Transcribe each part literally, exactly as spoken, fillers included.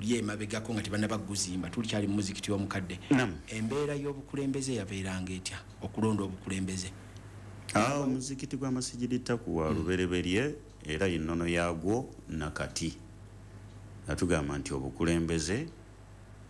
Luli emabegako nga tebannaba kuguzimba, tulikyali mu muzikiti omukadde, embeera y'obukulembeze yabeeranga etya, okulonda obukulembeze? Ah, omuzikiti gwa Masigidi Takuwa lubereberye era ennono yaagwo nakati atugamba nti obukulembeze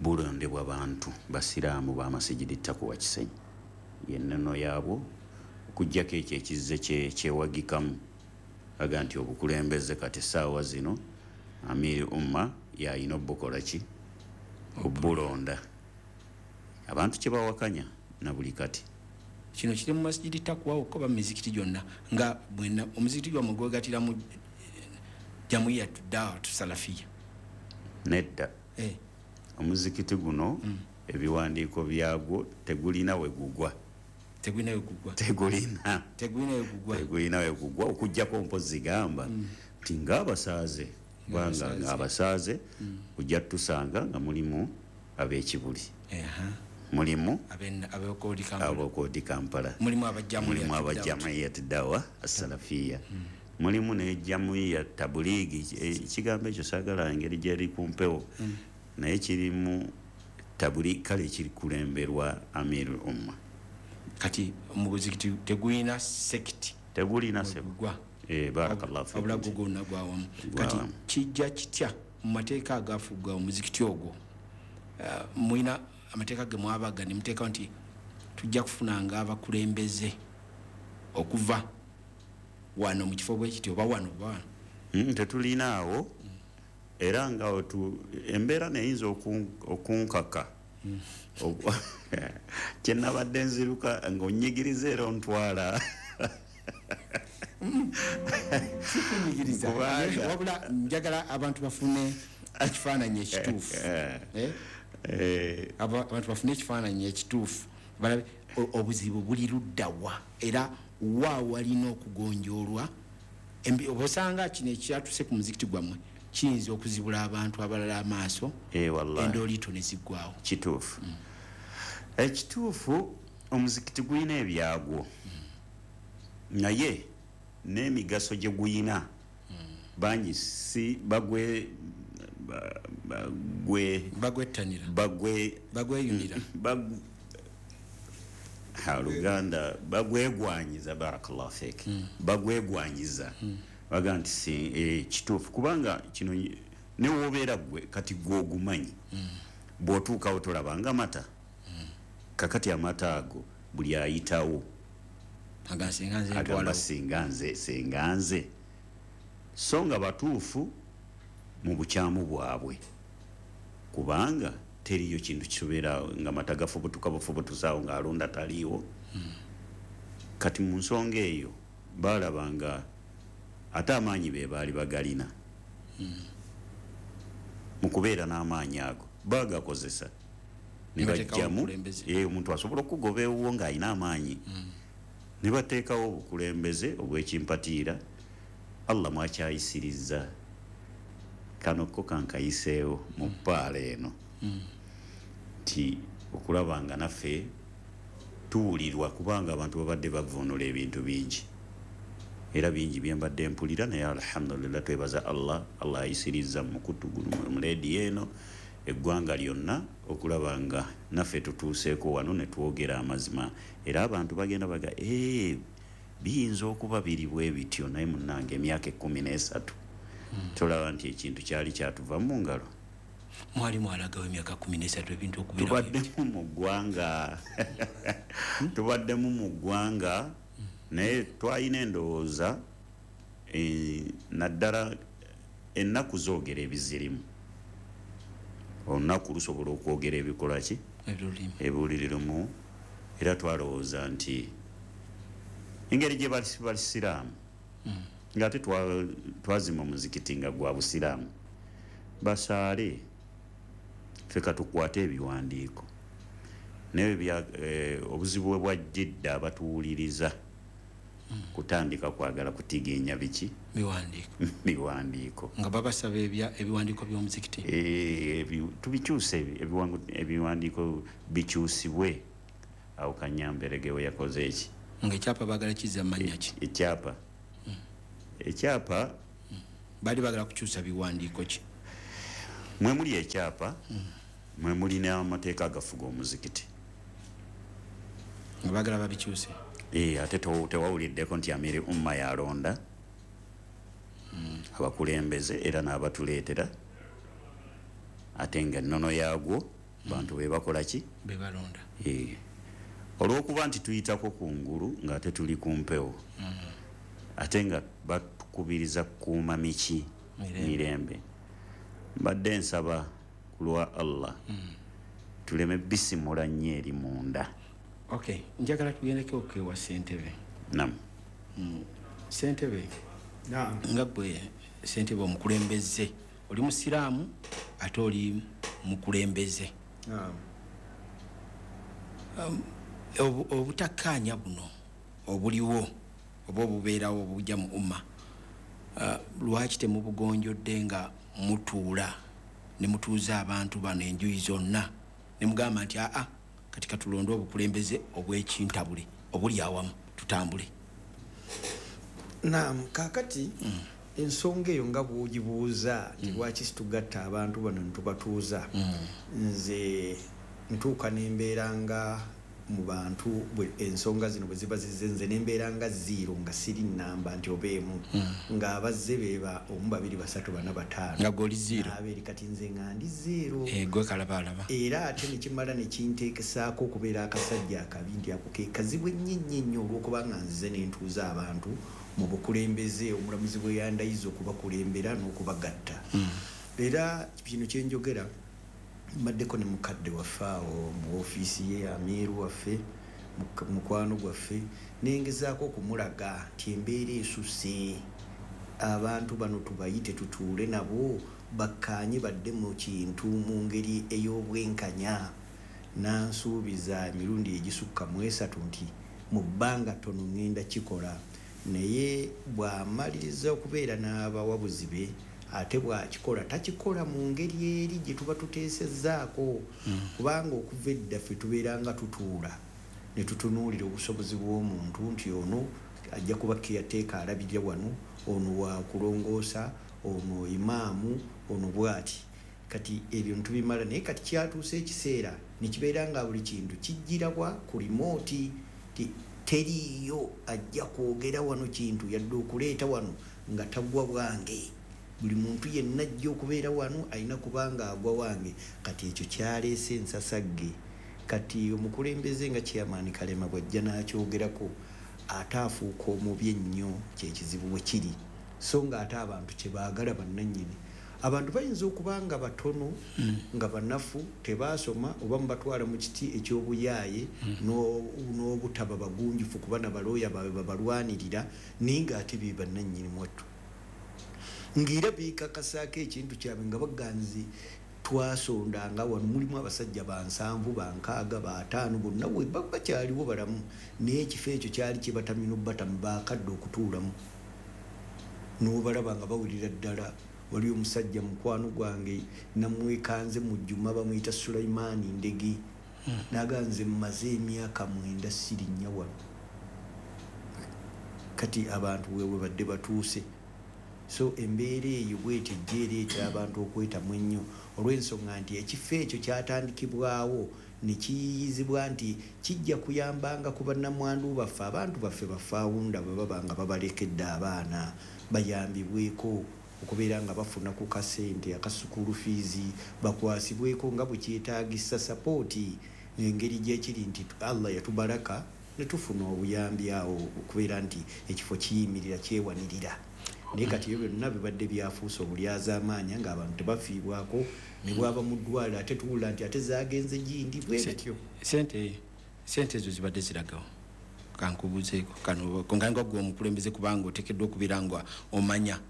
bulondebwa bantu basiraamu ba Masigidi Takuwa Kisenyi, yennono yaabwo, okuggyako ekyo ekizze kyewagikamu aga nti obukulembeze kati essaawa zino Amiri Umma yayina obukola ki, obulonda. Abantu kye bawakanya na buli kati. Kino kiri mu Masigidi Takuwa okko ba mizikiti gyonna, nga bwenna omuzikiti gwammwe gwegatira mu Jamuiya Dawatu Salafiya? Nedda. Eh. Omuzikiti guno mm. ebiwandiiko byagwo tegulina we gugwa. Tegulina we gugwa. Tegulina. Tegulina we gugwa. Tegulina we gugwa okuggyako mpozi gamba nti mm. ng'abasaaze kubanga ng'abasaaze mm. ojja tusanga nga mulimu ab'ekibuli. Uh-huh. Mulimu ab'okoodi Kampala. Mulimu abajamuyat Dawa Asalafiya. Mm. Mulimu ne Jamuiya Tabuligi, ekigambo ekyo saagala engeri gyeri ku mpewo. Mm. Naye kirimu tabuli kale kirikulemberwa Amir Umma. Kati omuzikiti tegulina sekiti. Tegulina sekiti. Eh, barakallahu fiik. Wabula gwonna gwawamu. Kati kijja kitya mu mateeka agafuga omuzikiti ogwo? Uh, mulina amateeka ge mwabaga ne muteekawo nti tujja kufunanga abakulembeze okuva wano mu kifo bwe kiti oba wano oba wano? Mm, tetulinaawo. Mm. Era nga embeera neyinza okunkaka. Mm. Kye nabadde nziruka ng'onnyigiriza era ontwala. Sikunyigiriza, wabula njagala abantu bafune ekifaananyi ekituufu. Abantu bafune ekifaananyi ekituufu, balabe obuzibu buli luddawa era wa walina okugonjoolwa. Obosanga kino ekyatuse ku muzikiti gwammwe kiyinza okuzibula abantu abalala amaaso, endooliito ne ziggwawo. Kituufu. Ekituufu omuzikiti gulina ebyagwo, naye n'emigaso gye guyina bangi si bagwe bagwe bagwettanira bagwe bagweyunira Luganda bagwegwanyiza, barakallahu fiik, bagwegwanyiza baga nti si kituufu, kubanga kino ne wobeera gwe kati gwe ogumanyi, bw'otuukawo tolabanga mata. Kakati amata ago buli ayitawo agamba singa nze singa nze, so nga batuufu mu bukyamu bwabwe, kubanga teriyo kintu kibeera nga mata gafubutuka bufubutusaawo ng'alonda taliiwo. Kati mu nsonga eyo baalaba nga ate amaanyi be baali bagalina. Mu kubeera n'amaanyi ago baagakozesa ne bajjamu omuntu asobola okugoba ewuwo ng'alina amaanyi, ne bateekawo obukulembeze obw'ekimpatiira. Allah mwakyayisiriza kano ko kankayiseewo mu ppaala eno nti okulaba nga naffe tuwulirwa, kubanga abantu babadde bavuunula ebintu bingi era bingi bye mbadde mpulira, naye alhamdulillah twebaza Allah, Allah ayisiriza mu mukutu guno mu leediyo eno eggwanga lyonna okulaba nga naffe tutuuseeko wano ne twogera amazima, era abantu bagenda baga ee biyinza okuba biri bwe bityo, naye munnange emyaka ekkumi n'esatu tolaba nti ekintu kyali kyatuva mu ngalo. Mwali mwalagawo emyaka kkumi n'esatu ebintu okubeera tubaddemu mu ggwanga tubaddemu mu ggwanga, naye twalina endowooza naddala ennaku zoogera ebizirimu, olunaku lusobola okwogera ebikola ki ebulirimu, era twalowooza nti engeri gye basiraamu ng'ate twazimba omuzikiti nga gwa busiraamu, basaale ffe katukwate ebiwandiiko, naye obuzibu bwe bwajjidde abatuwuliriza kutandika kwagala kutiginya biki biwandiiko biwandiiko nga babasaba ebiwandiiko by'omuzikiti tubikyuse, ebiwandiiko bikyusibwe. Awo Kanyamberege we yakoze eki nga ekyapa baagala kizza mannya ki ekyapa ekyapa baali baagala kukyusa biwandiiko ki? Mwe muli ekyapa, mwe muli n'amateeka agafuga omuzikiti. Nga baagala babikyuse. Eh, ate tewawuliddeko nti Amiri Umma yalonda abakulembeze era n'abatuleetera, ate nga ennono yaagwo bantu be bakola ki? Be balonda. Eh. Olw'okuba nti tuyitako ku ngulu ng'ate tuli ku mpewo, ate nga batukubiriza kukuuma miki mirembe, mbadde nsaba ku lwa Allah tuleme bisimula nnyo eri munda. Okay, njagala tugendeko ewa ssentebe. Naam. Ssentebe, Naam. Nga gwe ssentebe omukulembeze, oli musiraamu ate oli mukulembeze. Naam. Um, obutakkaanya buno obuliwo oba obubeerawo obujja mu umma, uh, lwaki temubugonjodde nga mutuula ne mutuuza abantu bano enjuyi zonna ne mugamba nti aa kati katulonde obukulembeze obw'ekintabule obuli awamu tutambule? Naam, kaakati mm. ensonga eyo nga bw'ogibuuza nti mm. lwaki situgatta abantu bano ne tubatuuza, mm. nze ntuuka n'embeera nga mu bantu ensonga zino bwe ziba zizze nze n'embeera nga zero nga siri nnamba nti oba emu, ng'abazze beeba omu babiri basatu bana bataano nga gw'oli zero abeeri kati nze nga ndi zero. Eh, gwe kalabalaba. Era ate ne kimala ne kinteekesaako okubeera akasajja akabi nti ako ke kazibu ennyo ennyo ennyo olw'okuba nga nzize ne ntuuza abantu mu bukulembeze omulamuzi bwe yandayiza okubakulembera n'okubagatta. Era kino kye njogera mbaddeko ne mukadde waffe awo mu ofiisi ye Amiru waffe mukwano gwaffe, nengezaako okumulaga nti embeera esusse, abantu bano tubayite tutuule nabo bakkaanye badde mu kintu mu ngeri ey'obwenkanya. Nansuubiza emirundi egisukka mu esatu nti mu bbanga ttono ŋŋenda kikola, naye bw'amaliriza okubeera n'abawabuzi be ate bw'akikola takikola mu ngeri eri gye tuba tuteesezzaako, kubanga okuva edda ffe tubeera nga tutuula ne tutunuulira obusobozi bw'omuntu nti ono ajja kuba caretaker alabirira wano, ono wa kulongoosa, ono imaamu, ono bw'ati. Kati ebyo ntubimala, naye kati kyatuuse ekiseera ne kibeera nga buli kintu kijjirabwa ku limooti, teriiyo ajja kwogera wano kintu yadde okuleeta wano nga tagwa bwange. Buli muntu yenna ajja okubeera wano alina kubanga agwa wange. Kati ekyo kyaleese ensasagge. Kati omukulembeze nga Chairman Kalema bw'ajja n'akyogerako ate afuuka omubi ennyo, kyekizibu bwe kiri. So ng'ate abantu kye baagala bannannyini, abantu bayinza okuba nga batono nga banafu tebaasoma oba mubatwala mu kiti eky'obuyaaye n'obutaba bagunjufu kuba nabalooya baabwe babalwanirira, naye ng'ate be bannannyini mwattu ng'era beekakasaako ekintu kyabwe nga baganzi twasondanga wano mulimu abasajja bansanvu bankaaga bataano bonna we bakyaliwo balamu, naye ekifo ekyo kyali kibatamye n'obbatamu baakadde okutuulamu n'obalaba nga bawulira ddala. Wali omusajja mukwano gwange namwekanze mu Juma bamuyita Sulaimaani Ndege, n'aganze mmaze emyaka mwenda sirinnya wano. Kati abantu wewe badde batuuse. So embeera eyo bw'etyo ejja ereetera abantu okwetamu ennyo olw'ensonga nti ekifo ekyo kyatandikibwawo ne kiyiyizibwa nti kijja kuyambanga ku bannamwandu baffe, abantu baffe bafaawunda bwe baba nga babalekedde abaana bayambibweko okubeera nga bafuna ku kasente akasukulu fiizi, bakwasibweko nga bwe kyetaagisa sapooti engeri gyekiri nti Allah yatubaraka ne tufuna obuyambi awo okubeera nti ekifo kiyimirira kyewanirira. Naye kati ebyo byonna bibadde byafuuse obulyazaamaanya ng'abantu tebafiibwako, ne bwaba mu ddwaliro ate tuwulira nti ate zaagenze gindi bwe bityo. Sente sente ezo zibadde ziragawo kankubuuzeeko kano nga gwe omukulembeze kubanga oteekeddwa okubeera nga omanya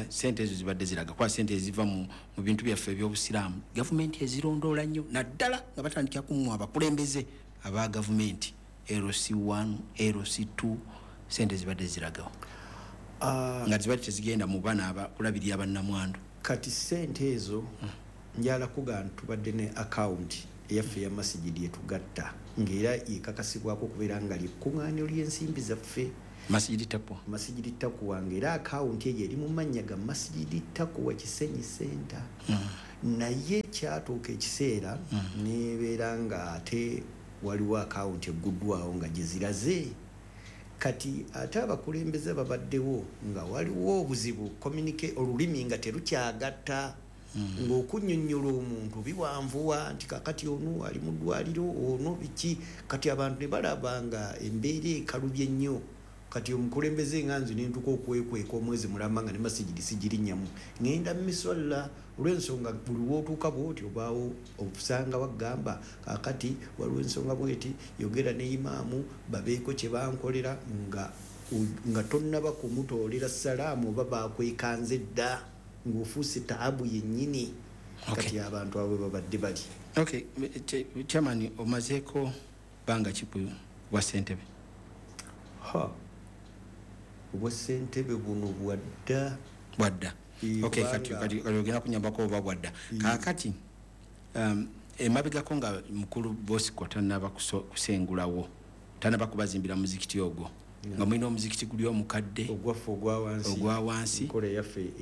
sente ezo zibadde ziraga kuba sente eziva mu bintu byaffe eby'obusiraamu gavumenti ezirondoola nnyo, naddala nga batandikira ku abakulembeze aba gavumenti L C one, L C two, sente zibadde ziragawo nga zibadde tezigenda mu baana abakulabirira bannamwandu. Kati sente ezo njala kuga tubadde ne akawunti eyaffe ya masigidi yetugatta ng'era ekakasibwako okubeera nga lyekkuŋŋaaniro ly'ensimbi zaffe Masjidi Taqwa. Masjidi Taqwa ng'era akawunti eyo eri mu mannya ga Masjidi Taqwa Kisenyi Center. Naye kyatuuka ekiseera nebeera nga ate waliwo akawunti egguddwawo nga gye ziraze. Kati ate abakulembeze babaddewo nga waliwo obuzibu, communicate olulimi nga terukyagatta, ng'okunnyonnyola omuntu biwanvuwa nti kakati ono ali mu ddwaliro, ono biki. Kati abantu ne balaba nga embeera ekalubye nnyo. Kati omukulembeze nga nze ne ntuuka okwekweka omwezi mulamba nga ne masigiri sigirinnyamu, ŋŋenda miswalla olw'ensonga buli w'otuuka bw'oti obaawo osanga wagamba kakati waliwo ensonga bweti, yogera ne imaamu babeeko kye bankolera, nga nga tonnaba kumutoolera salaamu oba bakwekanze dda ng'ofuuse taabu yennyini. Kati abantu abo babadde bali. Okay, chairman, omazeeko bbanga ki ku bwa ssentebe? Ha, obwa ssentebe buno bwadda. Bwadda. Okay, kati kati ogenda kunyambako oba bwadda. Kaakati um, emabegako nga mukulu Bosco tannaba kusengulawo, tannaba kubazimbira muzikiti ogwo, nga mulina omuzikiti guli omukadde ogwaffe ogwa wansi, ogwa wansi enkola eyaffe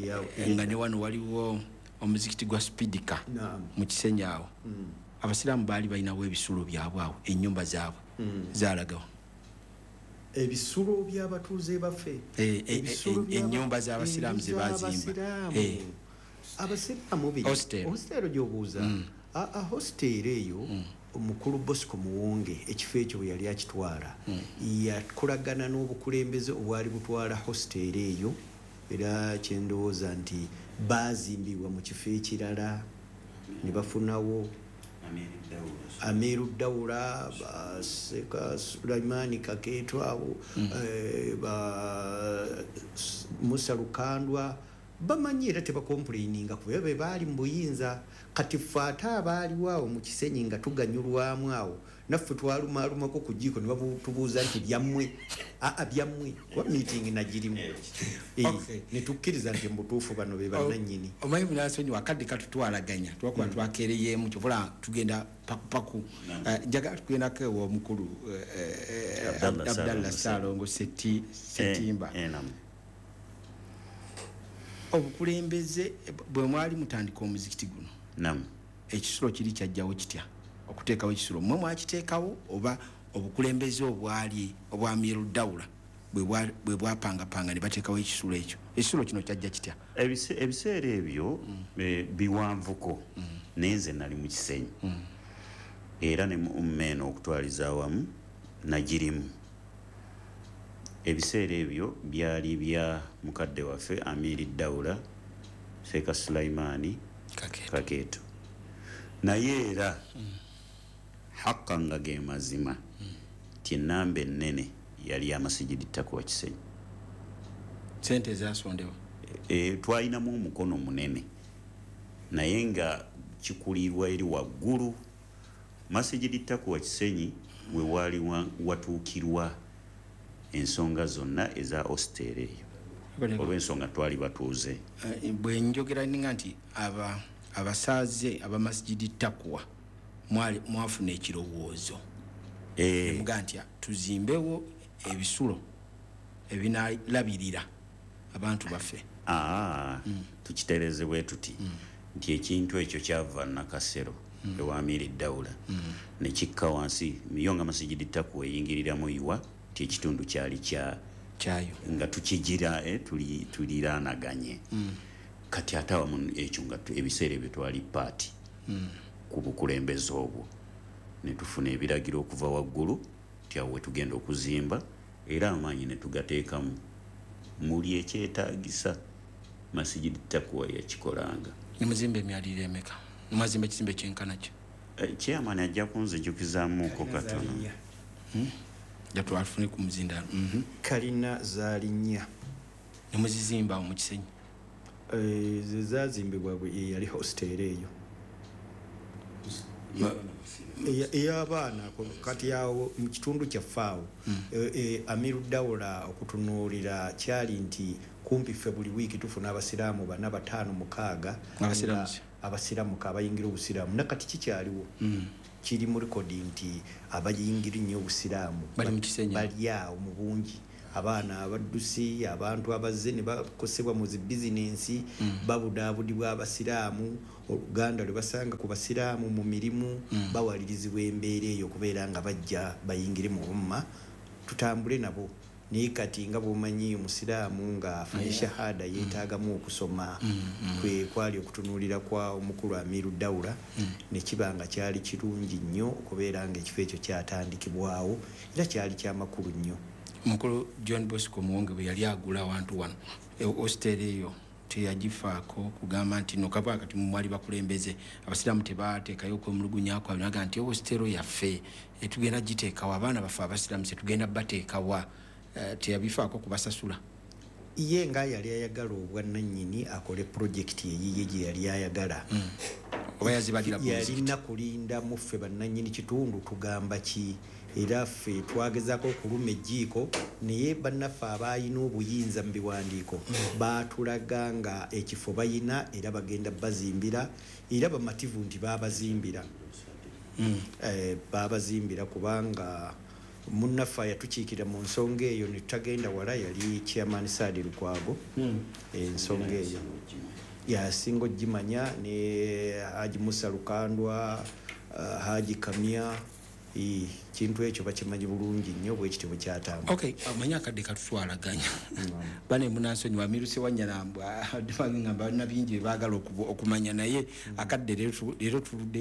nga ne wano waliwo omuzikiti gwa Spidika mu Kisenyi awo. Abasiraamu baali balinawo ebisulo byabwe awo, ennyumba zaabwe zaalagawo. Ebisulo by'abatuuze baffe, ennyumba z'abasiraamu ze baazimba. Abasiraamu bino hostel gy'obuuza, hostel eyo omukulu Bosco Muwonge ekifo ekyo bwe yali akitwala yakolagana n'obukulembeze obwali butwala hostel eyo, era kyendowooza nti baazimbibwa mu kifo ekirala ne bafunawo Amiru Dawula, Seka Sulaimani Kakeeto abo, ba Musa Lukandwa, bamanyi era tebakomplaininga kuba be baali mu buyinza. Kati ffe ate abaaliwo awo mu Kisenyi nga tuganyulwamu awo, naffe twalumaalumako ku jjiiko ne batubuuza nti byammwe, aa byammwe, kuba meeting nagirimu ne tukkiriza nti mu butuufu bano be bannannyini. Omanyi munansonyiwa, akadde katutwalaganya twakuba twakeereyeemu, kyova tugenda pakupaku. Njagala tugendako ewa omukulu Abdallah Ssaalongo Ssettimba. Obukulembeze bwe mwali mutandika omuzikiti guno, ekisulo kiri kyajjawo kitya okuteekawo ekisulo? Mmwe mwakiteekawo oba obukulembeze obwali obwa Amiru Dawula bwe bwapangapanga ne bateekawo ekisulo ekyo? Ekisulo kino kyajja kitya? Ebiseera ebyo biwanvuko, naye nze nali mu Kisenyi era ne mu umma eno okutwaliza awamu nagirimu. Ebiseera ebyo byali bya mukadde waffe Amiri Dawula Seka Sulaimani Kakeeto. Naye era hakka nga ge mazima ti ennamba ennene yali amasigiri Takwa Kisenyi. Sente zasondebwa e, twalinamu omukono munene, naye nga kikulirwa eri waggulu. Masigiri Takwa Kisenyi we waali watuukirwa ensonga zonna eza hostel eyo olw'ensonga twali batuuze. Bwe njogera ninga nti abasaaze abamasijidi Takwa mwafuna ekirowoozo muga nti tuzimbewo ebisulo ebinalabirira abantu baffe. Tukitereeze bwe tuti nti ekintu ekyo kyava Nakasero ewa Amiri Dawula ne kikka wansi yo nga Masigidi Takwa eyingiriramu iwa nti ekitundu kyali kya kyayo nga tukigira eh, tuli tuliraanaganye. Kati ate awamu ekyo nga ebiseera ebyo twali paati ku bukulembeze obwo ne tufuna ebiragiro okuva waggulu nti awo we tugenda okuzimba, era amaanyi ne tugateekamu muli ekyetaagisa. Masigidi Takwa yakikolanga. Ne muzimba emyaliriro emeka? Mwazimba ekizimbe kyenkana ki? Chairman ajja kunzijukizaamuko katono. Jatwafune ku muzindaalo. Kalina zaali nnya. Ne muzizimba awo mu Kisenyi? Ze zaazimbibwa eyali hostel eyo ey'abaana. Kati awo mu kitundu kyaffe awo Amiru Dawula okutunuulira kyali nti kumpi ffe buli wiiki tufuna abasiraamu bana, bataano, mukaaga abasiraamuka abayingira obusiraamu. Nakati kikyaliwo, kiri mu rekodi nti abayingira nnyo obusiraamu bali awo mu bungi. Abaana abaddusi, abantu abazze ne bakosebwa mu zi bizinensi, babudaabudibwa abasiraamu, oluganda lwe basanga ku basiraamu mu mirimu, bawalirizibwa embeera eyo okubeera nga bajja bayingire mu umma, tutambule nabo. Naye kati nga bw'omanyi omusiraamu ng'afunye shahada yeetaagamu okusoma, kwe kwali okutunuulira kwa omukulu Amiru Dawula, ne kiba nga kyali kirungi nnyo okubeera ng'ekifo ekyo kyatandikibwawo, era kyali kyamakulu nnyo. Omukulu John Bosco Muwonge bwe yali agula awantu wano, hostel eyo teyagifaako kugamba nti no kaba kati mwali bakulembeze abasiraamu tebateekayo okwemulugunya kwabwe, naga nti hostel yaffe tugenda giteekawo, abaana baffe abasiraamu tetugenda bateekawa. Teyabifaako kubasasula. Ye nga yali ayagala obwannannyini akole pulojekiti eyiye gye yali ayagala. Oba yazibalira ku muzikiti. Yalina kulinda mu ffe bannannyini kitundu tugamba ki, era ffe twagezaako okuluma ejjiiko, naye bannaffe abalina obuyinza mu biwandiiko baatulaga nga ekifo bayina era bagenda bazimbira, era bamativu nti baabazimbira. Baabazimbira kubanga munnaffe yatukiikira mu nsonga eyo ne tutagenda wala, yali Chairman Saadi Lukwago. Ensonga eyo yasinga ogimanya ne Haji Musa Lukandwa, Haji Kamya, kintu ekyo bakimanyi bulungi nnyo bwe kityo bwe kyatambula. Okay, amanyi akadde katutwalaganya. Bane munansonyiwa Amiru Ssewanyana ngamba balina bingi bye baagala okumanya, naye akadde leero tuludde.